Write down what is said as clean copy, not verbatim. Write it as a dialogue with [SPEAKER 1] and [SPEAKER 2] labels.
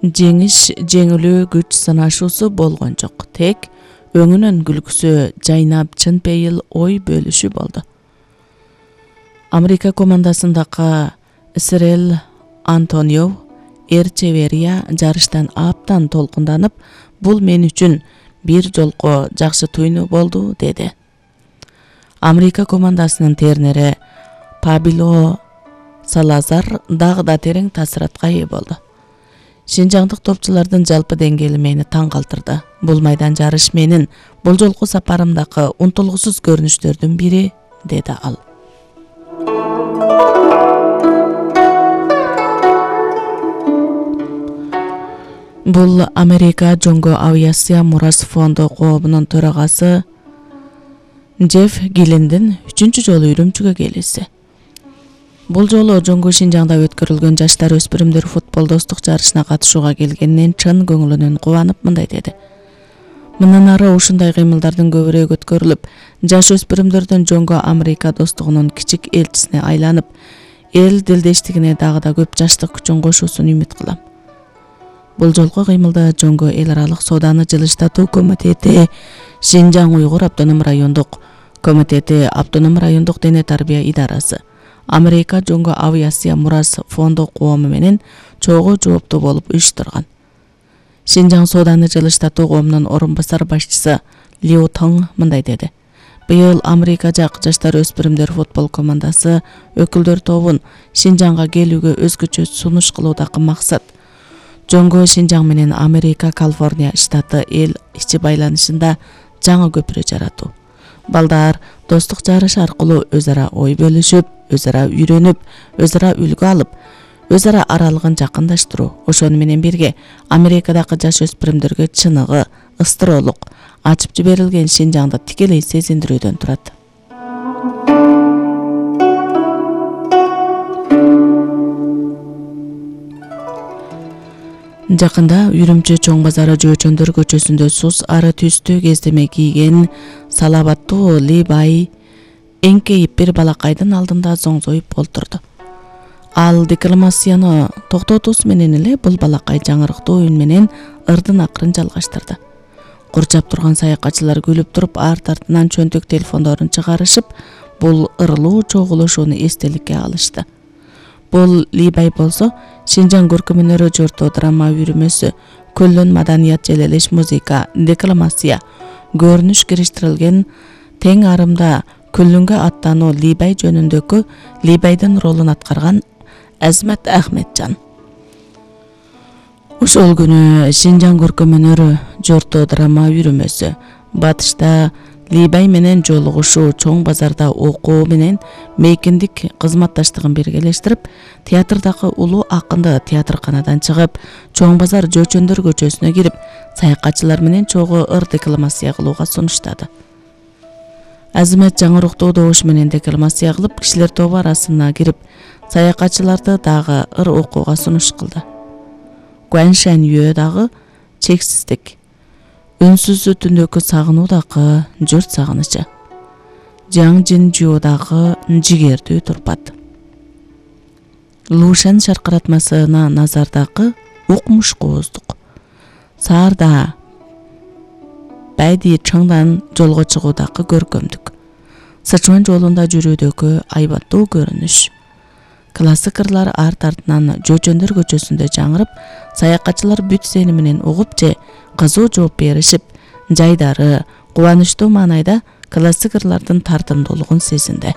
[SPEAKER 1] Жеңиш, жеңилүү күч сынашуусу болгон жок. Тек өңүнүн күлкүсү жайнап чын пейил ой бөлүшү болду. Америка командасындагы Исраэль Антонио Эрчеверия жарыштан аптан толкунданып, бул мен үчүн бир жолко жакшы туйну болду, деди. Америка командасынын тернери Пабило Салазар дагы да терең таасиратка ээ болду. Шинжаңдык топчулардын жалпы деңгээли мени таң калтырды. Бул майдан жарыш менин бул жолку сапарымдагы унтулгусуз көрүнүштөрдүн бири, деди ал. Бул Америка Жоңго авиация мурас фонду коомунун төрагасы Джефф Гиллендин 3-чү жолу Үрүмчүгө келиси. Бул жолу Жоңго Шинжаңда өткөрүлгөн жаштар өспүрүмдөр футбол достук жарышына катышууга келгенинен чын көңүлүнөн кубанып мындай деди. Мындан ары ушундай кыймылдардын көбүрөөк өткөрүлүп, жаш өспүрүмдөрдүн Жоңго Америка достугунун кичик элчисине айланып, эл дилдештигине дагы да көп жаштык күчүн кошуусун үмүт кылам. Бул жолку кыймылда Жоңго эл аралык сооданы жылыштатуу комитети, Шинжаң Уйгур автоном райондук комитети, автоном райондук дене тарбия идарасы, Америка Жоңго авиация мурас фонду коому менен чогуу жооптуу болуп уюштурган. Шинжаң сооданы жылыштатуу коомунун орун басар башчысы Лиу Тоң мындай деди. Быйыл Америка жак жаштар өспүрүмдөр футбол командасы өкүлдөр тобун Шинжаңга келүүгө өзгөчө сунуш кылуудагы максат Жоңго Шинжаң менен Америка Калифорния штаты эл ичи байланышында жаңы көпүрө жаратуу. Балдар достук жарыш аркылуу өз ара ой бөлүшүп, өз ара үйрөнүп, өз ара үлгү алып, өз ара аралыгын жакындаштыруу. Ошону менен бирге Америкадагы жаш өспүрүмдөргө чыныгы, ыстыроолук, ачып жиберилген Шинжаңды тикелей сезиндирүүдөн турат. Жакында Үрүмчү чоң базары Жөөчөндөр көчөсүндө сус ары түстүү кездеме кийген салабаттуу Либай эңкейип бир балакайдын алдында зоңзоюп олтурду. Ал декламацияны токтотуусу менен эле бул балакай жаңырыктуу үн менен ырдын акырын жалгаштырды. Курчап турган саякатчылар күлүп туруп, арт артынан чөнтөк телефондорун чыгарышып, бул ырылуу чогулушууну эстеликке алышты. Бул Либай болсо Шинжаң көркөм өнөрү жорто драма үйрүмөсү, көллөн маданият желелеш музыка, декламация, көрүнүш кириштирилген тең арымда күлүнгө аттануу Либай жөнүндөгү Либайдын ролун аткарган Азмат Ахметжан. Ошол күнү Шинжаң көркөм өнөрү жорто драма үйрүмөсү батышта Либай менен жолугушуу, чоң базарда окуу менен мейкиндик кызматташтыгын биргелештирип, театрдагы улуу акынды театрканадан чыгып, чоң базар Жөөчөндөр көчөсүнө кирип, саякатчылар менен чогуу ыр декламация кылууга сунуштады. Азмат жаңыруктуу добуш менен декламация кылып, кишилер тобу арасына кирип, саякатчыларды дагы ыр окууга сунуш кылды. Гуаншан Юэ дагы чексиздик, үнсүз түндөгү сагынуу дагы журт сагынычы, Жаң Жин Жуу дагы жигердүү турпат. Лушан шаркыратмасына назардагы укмуш кооздук. Саарда Байди чаңдан жолго чыгуудагы көркөмдүк. Сычуан жолунда жүрүүдөгү айбаттуу көрүнүш. Классик ырлар арт артынан Жөөчөндөр көчөсүндө жаңырып, саякатчылар бүт сени менен угуп же кызуу жооп беришип, жайдары, кубанычтуу маанайда классик ырлардын тартымдуулугун сезинди.